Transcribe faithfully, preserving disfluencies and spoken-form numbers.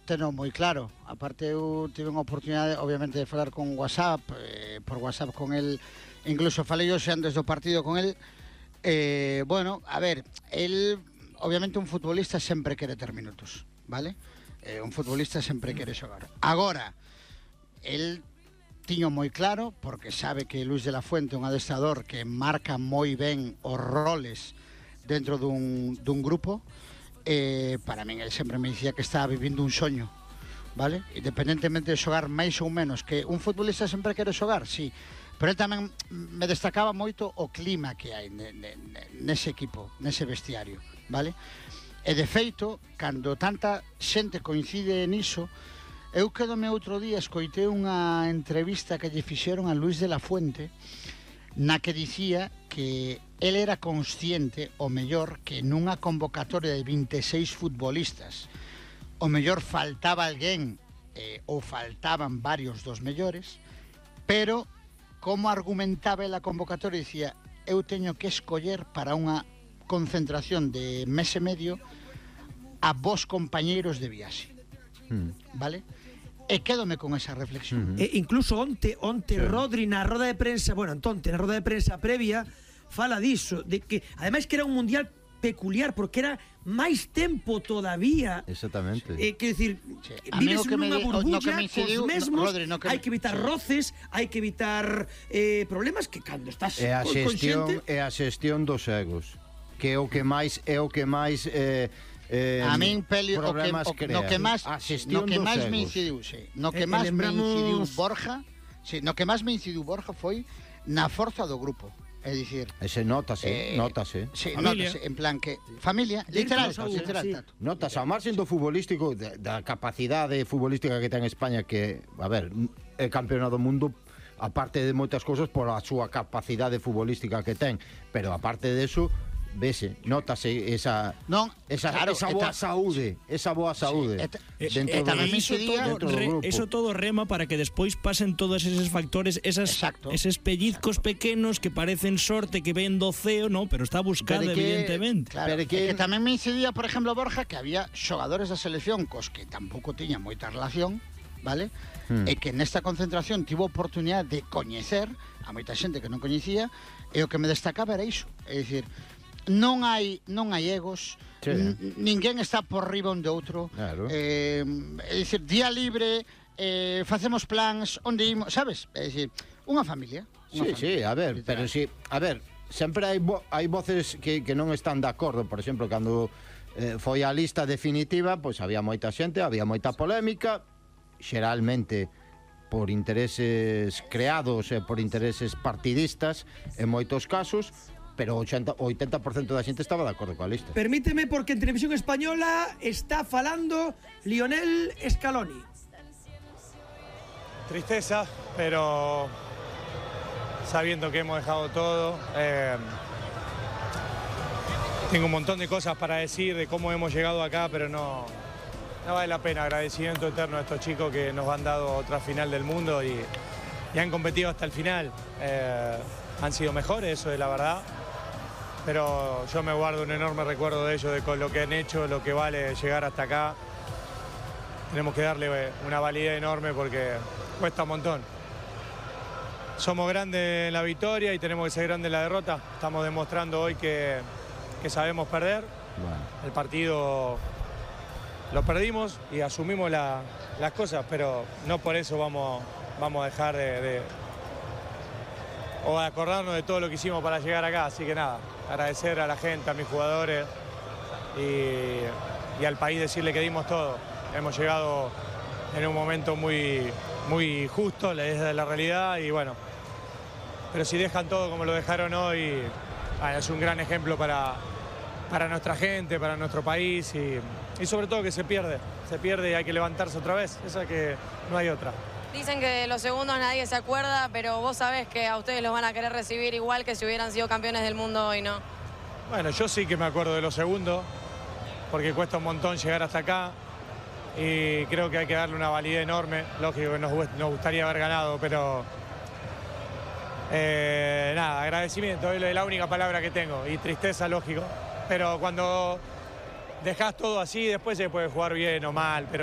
teno moi claro. Aparte, eu tive unha oportunidade, obviamente, de falar con WhatsApp, eh, por WhatsApp con el, incluso falei hoxe antes do partido con el. Eh, bueno, a ver, el, obviamente, un futbolista sempre quere ter minutos, vale? Eh, un futbolista sempre quere xogar. Agora, el tiño moi claro, porque sabe que Luis de la Fuente é un adestrador que marca moi ben os roles dentro dun, dun grupo. Eh, para min, el sempre me dicía que estaba vivindo un soño, vale? Independentemente de xogar máis ou menos, que un futbolista sempre quere xogar, sí, pero el tamén me destacaba moito o clima que hai nese equipo, nese vestiario, vale? E de feito, cando tanta xente coincide niso, eu quedome outro día, escoitei unha entrevista que lle fixeron a Luis de la Fuente, na que dicía que el era consciente, o mellor, que nunha convocatoria de vinte e seis futbolistas, o mellor faltaba alguén, eh, ou faltaban varios dos mellores, pero, como argumentaba a convocatoria, dicía, eu teño que escoller para unha concentración de mes e medio a vos compañeiros de viaxe, mm. vale? E quédome con esa reflexión. Uh -huh. E incluso onte, onte sí. Rodri na roda de prensa, bueno, entonces na roda de prensa previa, fala diso, de que ademais que era un mundial peculiar, porque era máis tempo todavía. Exactamente. Eh, que decir, sí. vives nunha burbulla, no que me incidiu, cos mesmos, no, Rodri, no que hai que evitar sí. roces, hai que evitar eh, problemas que cando estás é a xestión, consciente... é a xestión dos egos, que é o que máis é o que máis eh, Eh, a min, Pelio, o que, o, no que máis no que máis me incidiu, sí, no que máis me incidiu Borja, sí, no que máis me incidiu Borja foi na forza do grupo. É dicir, ese notase, eh, notase. Sí, notase, en plan que familia, literal, literal, sí. Notase ao marxen do futbolístico, da capacidade futbolística que ten España, que, a ver, é campeona do mundo, aparte de moitas cousas, por a súa capacidade futbolística que ten, pero aparte de eso, vese, notase esa non, esa, claro, esa boa eta, saúde, esa boa saúde. Sí, et, dentro et, de, iso, todo, dentro re, eso todo rema para que despois pasen todos eses factores, esas Exacto. eses pellizcos Exacto. pequenos que parecen sorte que ven do ceo, no, pero está buscada que, evidentemente. Claro, pero que, que tamén me incidía, por exemplo, Borja, que había xogadores da selección cos que tampouco tiña moita relación, vale? Hmm. E que nesta concentración tivo oportunidade de coñecer a moita xente que non coñecía, e o que me destacaba era iso, é dicir, non hai non hai egos, sí. ninguén está por riba un de outro, claro. eh, é dicir, día libre, eh, facemos plans, onde imos, sabes? É dicir, unha familia. Unha sí, familia, sí, a ver, literal. Pero si, a ver, sempre hai, vo, hai voces que, que non están de acordo, por exemplo, cando eh, foi a lista definitiva, pois había moita xente, había moita polémica, xeralmente por intereses creados e por intereses partidistas, en moitos casos, pero o oitenta por cento da xente estaba de acordo coa lista. Permíteme, porque en Televisión Española está falando Lionel Scaloni. Tristeza, pero sabiendo que hemos dejado todo, eh, tengo un montón de cosas para decir de cómo hemos llegado acá, pero no, no vale la pena. Agradecimiento eterno a estos chicos que nos han dado otra final del mundo y, y han competido hasta el final. Eh, han sido mejores, eso es la verdad. Pero yo me guardo un enorme recuerdo de ellos, de con lo que han hecho, lo que vale llegar hasta acá. Tenemos que darle una validez enorme porque cuesta un montón. Somos grandes en la victoria y tenemos que ser grandes en la derrota. Estamos demostrando hoy que, que sabemos perder. Bueno. El partido lo perdimos y asumimos la, las cosas, pero no por eso vamos, vamos a dejar de... de o a acordarnos de todo lo que hicimos para llegar acá. Así que nada, agradecer a la gente, a mis jugadores y, y al país, decirle que dimos todo. Hemos llegado en un momento muy, muy justo, desde la realidad, y bueno, pero si dejan todo como lo dejaron hoy, bueno, es un gran ejemplo para, para nuestra gente, para nuestro país y, y sobre todo que se pierde, se pierde y hay que levantarse otra vez, esa que no hay otra. Dicen que los segundos nadie se acuerda, pero vos sabés que a ustedes los van a querer recibir igual que si hubieran sido campeones del mundo hoy, ¿no? Bueno, yo sí que me acuerdo de los segundos, porque cuesta un montón llegar hasta acá y creo que hay que darle una validez enorme. Lógico que nos, nos gustaría haber ganado, pero eh, nada, agradecimiento, es la única palabra que tengo, y tristeza, lógico, pero cuando dejás todo así, después se puede jugar bien o mal, pero